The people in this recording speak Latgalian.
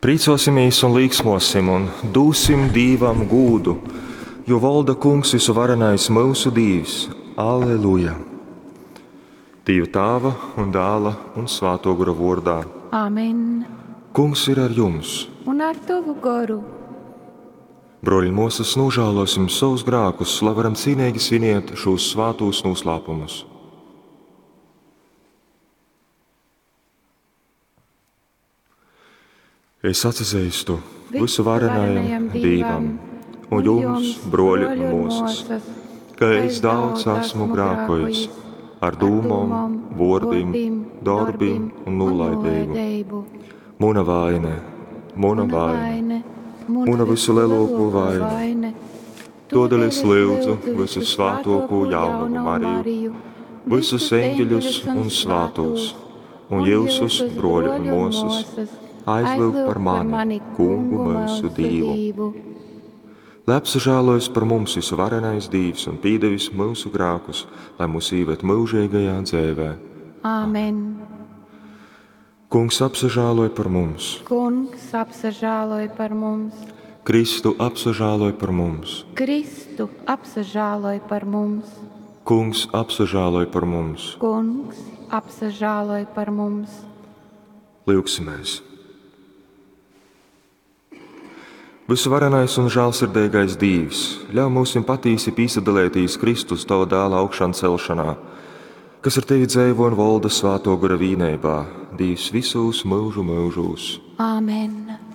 Prīcōsimīs un līksmōsim un dūsim Dīvam gūdu, jo volda Kungs vysuvarenais myusu Dīvs. Alleluja! Dīva Tāva un Dāla un Svātō Gora vōrdā. Amen. Kungs ir ar jums! Un ar tovu goru. Brōļi un mōsas, nožālōsim savus grākus, lai varam cīneigi sviniet šūs svātūs noslēpumus. Es atsazeistu vysuvarenajam Dīvam un jums, brōļi un mōsas, ka es daudz esmu grākojis ar dūmom, vōrdim, dorbim un nūlaideibu. Muna vaine, muna vaine, muna vysulielākō vaine. Todēļ es lyudzu vysusvātōkū jaunavu Mariju, visus eņģeļus un svātūs, un jyusus, brōļi un mōsas, aizlyugt par mani, Kungu myusu Dīvu. Lai apsažālojas par mums vysuvarenais Dīvs un pīdevis myusu grākus, lai mūs īved myužīgajā dzēvē. Āmen. Kungs apsažāloj par mums. Kungs apsažāloj par mums. Kristu apsažāloj par mums. Kristu apsažāloj par mums. Kungs apsažāloj par mums. Kungs apsažāloj par mums. Lyugsimies! Vysuvarenais un žālsirdeigais Dīvs, ļauj mūsim patīsi pīsadalētīs Kristus tava dāla augšancelšanā, kas ar tevi dzeivo un volda svāto gora vīneibā, Dīvs visūs mūžu mūžūs. Āmen.